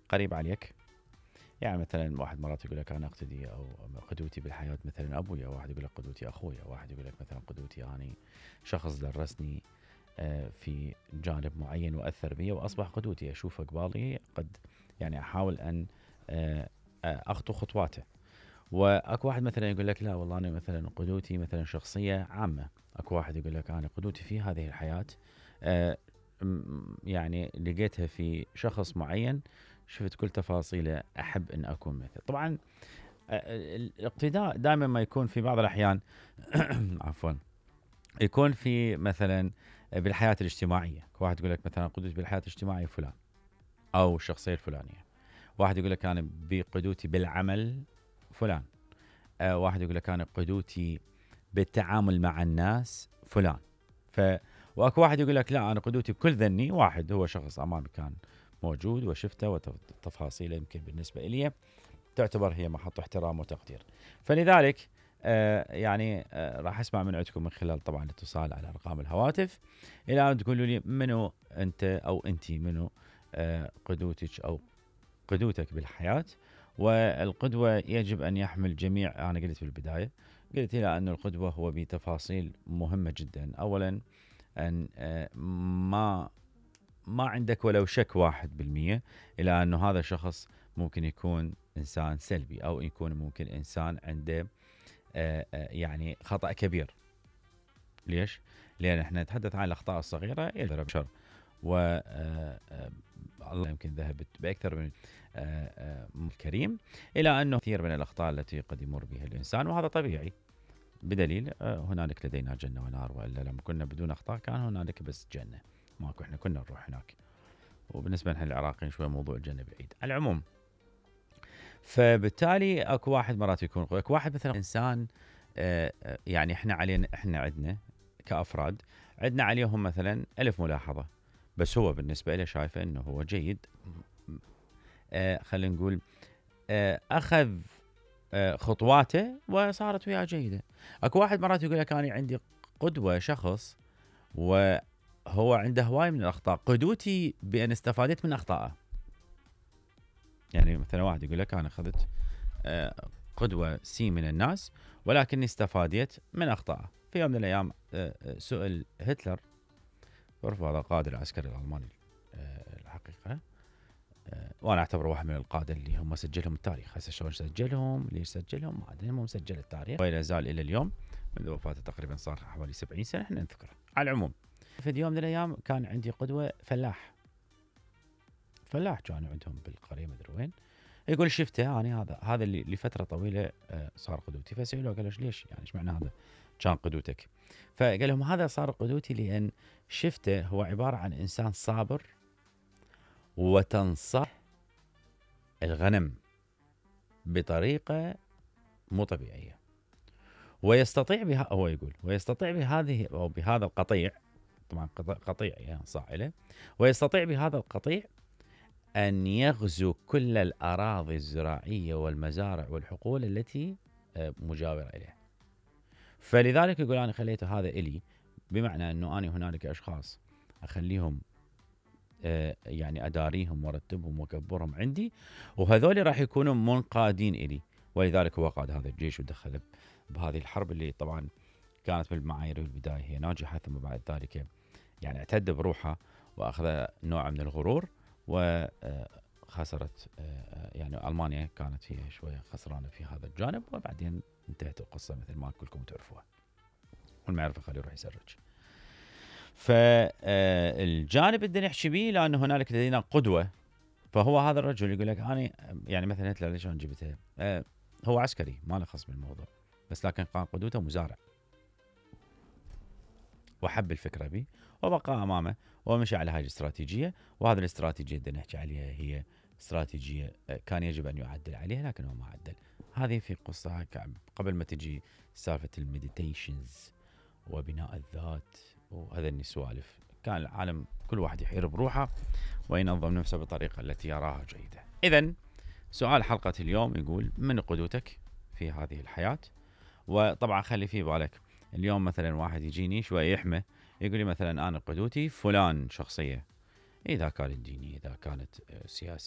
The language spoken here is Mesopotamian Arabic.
قريب عليك. يعني مثلا واحد مرات يقول لك انا اقتدي او قدوتي بالحياه مثلا ابويا، واحد يقول لك قدوتي اخويا، واحد يقول لك مثلا قدوتي اني شخص درسني في جانب معين واثر بي واصبح قدوتي، اشوفه قبالي قد يعني احاول ان اخطو خطواته. واكو واحد مثلا يقول لك لا والله انا مثلا قدوتي مثلا شخصيه عامه. اكو واحد يقول لك انا قدوتي في هذه الحياه يعني لقيتها في شخص معين، شفت كل تفاصيله احب ان اكون مثل. طبعا الاقتداء دائما ما يكون في بعض الاحيان عفوا يكون في مثلا بالحياه الاجتماعيه. واحد يقول لك مثلا قدوتي بالحياه الاجتماعيه فلان او الشخصيه الفلانيه. واحد يقول لك انا بقدوتي بالعمل فلان. واحد يقول لك انا قدوتي بالتعامل مع الناس فلان. واكو واحد يقول لك لا انا قدوتي بكل ذني واحد، هو شخص امامي كان موجود وشفته وتفاصيله يمكن بالنسبه لي تعتبر هي محط احترام وتقدير. فلذلك يعني راح اسمع من عندكم من خلال طبعا الاتصال على ارقام الهواتف الى ان تقولوا لي منو انت او انتي منو قدوتك او قدوتك بالحياه. والقدوه يجب ان يحمل جميع، انا قلت في البدايه قلت الى ان القدوه هو بتفاصيل مهمه جدا. اولا ان ما عندك ولو شك 1% الى انه هذا الشخص ممكن يكون انسان سلبي او يكون ممكن انسان عنده يعني خطأ كبير. ليش؟ لان احنا نتحدث عن الاخطاء الصغيره يقدر بشر و الله يمكن ذهبت باكثر من الكريم الى انه كثير من الاخطاء التي قد يمر بها الانسان، وهذا طبيعي. بدليل هنالك لدينا جنه ونار، والا لما كنا بدون اخطاء كان هنالك بس جنه، ماكو احنا كنا نروح هناك. وبالنسبه لنا العراقيين شوي موضوع الجنه بعيد. على العموم فبالتالي اكو واحد مرات يكون اكو واحد مثلا انسان يعني احنا علينا، احنا عندنا كافراد عندنا عليهم مثلا 1000 ملاحظه، بس هو بالنسبه له شايفه انه هو جيد. خلينا نقول اخذ خطواته وصارت وياه جيده. اكو واحد مرات يقول لك انا عندي قدوه شخص وهو عنده هواي من الاخطاء، قدوتي بان استفادت من اخطائه. يعني مثلا واحد يقول لك انا اخذت قدوه سي من الناس ولكني استفادت من اخطائه. في يوم من الايام سئل هتلر، تعرف هذا القائد العسكري الالماني الحقيقه، وانا اعتبره واحد من القاده اللي هم سجلهم التاريخ. هسه شلون سجلهم؟ ليش سجلهم؟ ما ادري، المهم سجل التاريخ ولا زال الى اليوم. منذ وفاته تقريبا صار حوالي 70 سنه احنا نذكره. على العموم في يوم من الايام كان عندي قدوه فلاح كانوا عندهم بالقريه مدري وين. يقول شفته انا هذا اللي لفتره طويله صار قدوتي. فسالوه قالوا ليش يعني ايش معنى هذا كان قدوتك؟ فقال لهم هذا صار قدوتي لان شفته هو عباره عن انسان صابر وتنصح الغنم بطريقه مو طبيعيه، ويستطيع بها، هو يقول ويستطيع بهذه او بهذا القطيع، طبعا قطيع يعني صائله، ويستطيع بهذا القطيع أن يغزو كل الأراضي الزراعية والمزارع والحقول التي مجاورة إليه. فلذلك يقول أنا خليت هذا إلي، بمعنى أنه أنا هنالك أشخاص أخليهم يعني أداريهم وأرتبهم وأكبرهم عندي، وهذول راح يكونوا منقادين إلي. ولذلك هو قاد هذا الجيش ودخل بهذه الحرب اللي طبعا كانت بالمعايير في البداية هي ناجحة، ثم بعد ذلك يعني اعتد بروحها وأخذ نوع من الغرور وخسرت. يعني ألمانيا كانت هي شوية خسرانة في هذا الجانب، وبعدين انتهت القصة مثل ما كلكم تعرفوها، واللي ما يعرفه خليه يروح يسرج. فالجانب اللي نحكي به لأن هنالك لدينا قدوة. فهو هذا الرجل يقول لك أنا يعني مثلا هتلر ليش أنا جبته؟ هو عسكري ما له خص بالموضوع، بس لكن كان قدوته مزارع وحب الفكرة بي وبقى أمامه ومشي على هذه الاستراتيجية. وهذه الاستراتيجية اللي نحكي عليها هي استراتيجية كان يجب أن يعدل عليها لكنه ما عدل. هذه في قصة قبل ما تجي سالفة المديتيشنز وبناء الذات وهذا السوالف، كان العالم كل واحد يحير بروحه وينظم نفسه بطريقة التي يراها جيدة. إذن سؤال حلقة اليوم يقول من قدوتك في هذه الحياة؟ وطبعا خلي في بالك اليوم مثلا واحد يجيني شوي يحمى يقول لي مثلا أنا قدوتي فلان شخصية، إذا كانت ديني إذا كانت سياسي